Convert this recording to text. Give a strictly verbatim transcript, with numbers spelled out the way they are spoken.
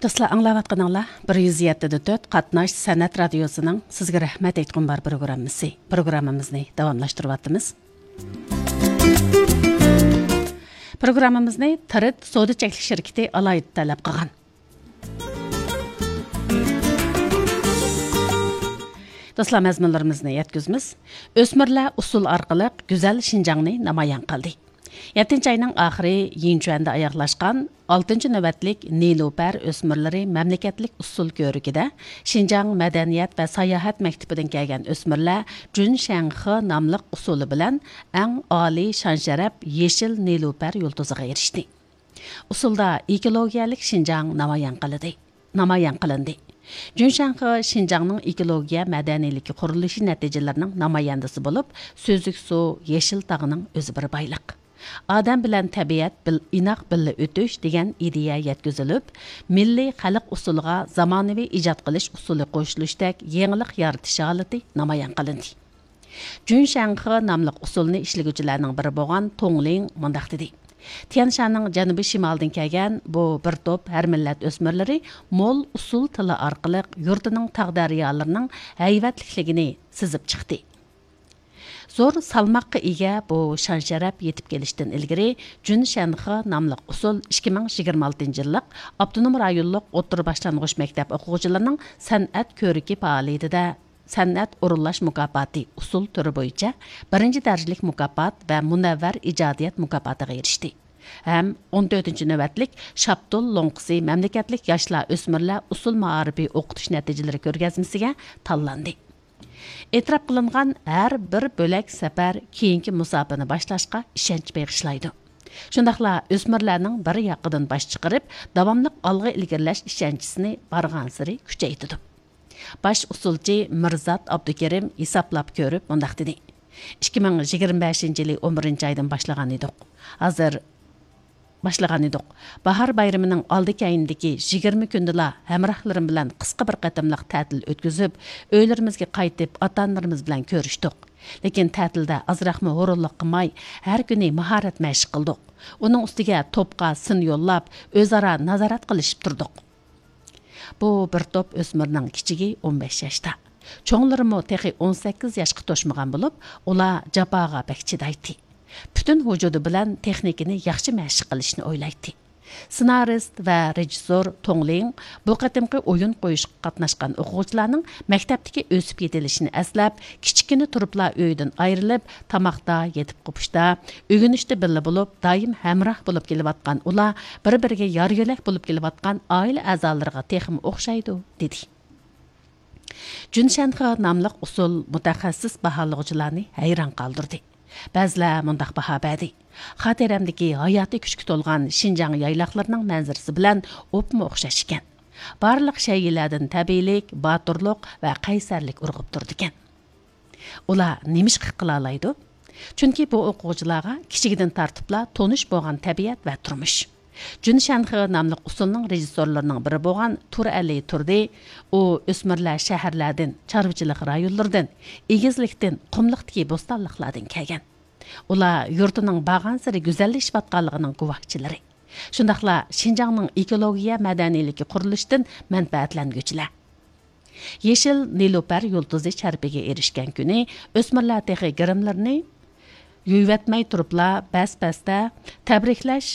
دوستلار، ئاڭلاۋاتقىنىڭلار بىر يۈز يەتتە دە تۆت قاتناش سەنئەت رادىيوسىنىڭ سىزگە رەھمەت ئېيتقۇم بار پروگراممىسى. پروگراممىمىزنى داۋاملاشتۇرۇۋاتىمىز. پروگراممىمىزنى تىرىت سودا چەكلىك شىركىتى ئالاھىدە تەلەپ قىلغان. دوستلار، مەزمۇنلىرىمىزنى يەتكۈزىمىز. ئۆسمۈرلەر ئۇسسۇل ئارقىلىق گۈزەل شىنجاڭنى نامايان قىلدى. يەتتىنچى ئاينىڭ ئاخىرى يىنچۈەندە ئاياغلاشقان ئالتىنچى نۆۋەتلىك نىلۇپەر ئۆسمۈرلىرى مەملىكەتلىك ئۇسسۇل كۆرىكىدە شىنجاڭ مەدەنىيەت ۋە ساياھەت مەكتىپىدىن كەلگەن ئۆسمۈرلەر جۈن شەنخې ناملىق ئۇسسۇلى بىلەن ئەڭ ئالىي شان-شەرەپ يېشىل نىلۇپەر يۇلتۇزىغا ئېرىشتى. ئۇسسۇلدا ئېكولوگىيەلىك شىنجاڭ نامايان قىلدى. نامايان قىلىندى. جۈن شەنخې شىنجاڭنىڭ ئېكولوگىيە مەدەنىيلىكى قۇرۇلۇشى نەتىجىلىرىنىڭ نامايەندىسى بولۇپ، سۈزۈك سۇ، يېشىل تاغنىڭ ئۆزى بىر بايلىق. ئادەم بىلەن تەبىئەت بىل-، ئىناق بىللە ئۆتۈش دېگەن ئىدىيە يەتكۈزۈلۈپ، مىللىي خەلق ئۇسسۇلىغا زامانىۋى ئىجاد قىلىش ئۇسۇلى قوشۇلۇشتەك يېڭىلىق يارىتىش ھالىتى نامايان قىلىندى. جۈن شەنخې ناملىق ئۇسسۇلنى ئىشلىگۈچىلەرنىڭ بىرى بولغان توڭ لىڭ مۇنداق دېدى: تيەنشاننىڭ جەنۇبىي شىمالىدىن كەلگەن بۇ بىر توپ ھەر مىللەت ئۆسمۈرلىرى مول ئۇسسۇل تىلى ئارقىلىق يۇرتىنىڭ تاغ دەريالىرىنىڭ ھەيۋەتلىكلىكىنى سىزىپ چىقتى. زور سالماققا ئىگە بۇ شان-شەرەپ يېتىپ كېلىشتىن ئىلگىرى، جۈن شەنخې ناملىق ئۇسسۇل ئىككى مىڭ يىگىرمە ئالتىنچى يىللىق ئاپتونوم رايونلۇق ئوتتۇرا باشلانغۇچ مەكتەپ ئوقۇغۇچىلىرىنىڭ سەنئەت كۆرىكى پائالىيىتىدە سەنئەت ئورۇنلاش مۇكاپاتى ئۇسسۇل تۈرى بويىچە بىرىنچى دەرىجىلىك مۇكاپات ۋە مۇنەۋۋەر ئىجادىيەت مۇكاپاتىغا ئېرىشتى ھەم ئون تۆتىنچى نۆۋەتلىك شاپتۇل لوڭقىسى مەملىكەتلىك ياشلار، ئۆسمۈرلەر ئۇسسۇل مائارىپى ئوقۇتۇش نەتىجىلىرى كۆرگەزمىسىگە تاللاندى. ئېتىراپ قىلىنغان ھەر بىر بۆلەك سەپەر كېيىنكى مۇساپىنى باشلاشقا ئىشەنچ بېغىشلايدۇ. شۇنداقلا ئۆسمۈرلەرنىڭ بىر ياقىدىن باش چىقىرىپ، داۋاملىق ئالغا ئىلگىرىلەش ئىشەنچىسىنى بارغانسېرى كۈچەيتىدۇ. باش ئۇسسۇلچى مىرزات ئابدۇكېرىم ھېسابلاپ كۆرۈپ مۇنداق دېدى: ئىككى مىڭ يىگىرمە بەشىنچى يىلى ئون بىرىنچى ئايدىن باشلىغان ئىدۇق. ھازىر باشلىغان ئىدۇق. باھار بايرىمىنىڭ ئالدى كەينىدىكى يىگىرمە كۈندىلا ھەمراھلىرىم بىلەن قىسقا بىر قېتىملىق تەتىل ئۆتكۈزۈپ، ئۆيلىرىمىزگە قايتىپ، ئاتا-ئانىلىرىمىز بىلەن كۆرۈشتۇق. لېكىن تەتىلدە ئازراقمۇ ھۇرۇنلۇق قىلماي، ھەر كۈنى ماھارەت مەشىق قىلدۇق. ئۇنىڭ ئۈستىگە توپقا سىن يوللاپ، ئۆزئارا نازارەت قىلىشىپ تۇردۇق. بۇ بىر توپ ئۆسمۈرنىڭ كىچىكى ئون بەش ياشتا. چوڭلىرىمۇ تېخى ئون سەككىز ياشقا توشمىغان بولۇپ، ئۇلار جاپاغا بەك چىدايتتى. پۈتۈن ۋۇجۇدى بىلەن تېخنىكىنى ياخشى مەشىق قىلىشنى ئويلايتتى. سېنارىست ۋە رېژىسسور توڭ لىڭ بۇ قېتىمقى ئويۇن قويۇشقا قاتناشقان ئوقۇغۇچىلارنىڭ مەكتەپتىكى ئۆسۈپ يېتىلىشىنى ئەسلەپ، كىچىككىنە تۇرۇپلا ئۆيىدىن ئايرىلىپ، تاماقتا، يېتىپ قوپۇشتا، ئۆگىنىشتە بىللە بولۇپ، دائىم ھەمراھ بولۇپ كېلىۋاتقان ئۇلار بىر-بىرىگە يار-يۆلەك بولۇپ كېلىۋاتقان ئائىلە ئەزالىرىغا تېخىمۇ ئوخشايدۇ، دېدى. جۈن شەنخې ناملىق ئۇسسۇل مۇتەخەسسىس باھالىغۇچىلارنى ھەيران قالدۇردى. بەزىلەر مۇنداق باھا بەردى: خاتىرەمدىكى ھاياتىي كۈچكە تولغان شىنجاڭ يايلاقلىرىنىڭ مەنزىرىسى بىلەن ئوپمۇ ئوخشاش ئىكەن. بارلىق شەيئىلەردىن تەبىئىيلىك، باتۇرلۇق ۋە قەيسەرلىك ئۇرغۇپ تۇرىدىكەن. ئۇلار نېمىشقا قىلالايدۇ؟ چۈنكى بۇ ئوقۇغۇچىلارغا كىچىكىدىن تارتىپلا تونۇش بولغان تەبىئەت ۋە تۇرمۇش. جۈن شەنخې ناملىق ئۇسسۇلنىڭ رېژىسسورلىرىنىڭ بىرى بولغان تۇرئەلى تۇردى، ئۇ ئۆسمۈرلەر شەھەرلەردىن، چارۋىچىلىق رايونلىرىدىن، ئېگىزلىكتىن، قۇملۇقتىكى بوستانلىقلاردىن كەلگەن. ئۇلار يۇرتىنىڭ بارغانسېرى گۈزەللىشىۋاتقانلىقىنىڭ گۇۋاھچىلىرى. شۇنداقلا شىنجاڭنىڭ ئېكولوگىيە مەدەنىيلىكى قۇرۇلۇشىدىن مەنپەئەتلەنگۈچىلەر. يېشىل نېلۇپەر يۇلتۇزى شەرىپىگە ئېرىشكەن كۈنى ئۆسمۈرلەر تېخى گىرىملىرىنى يۇيۇۋەتمەي تۇرۇپلا بەس-بەستە تەبرىكلەش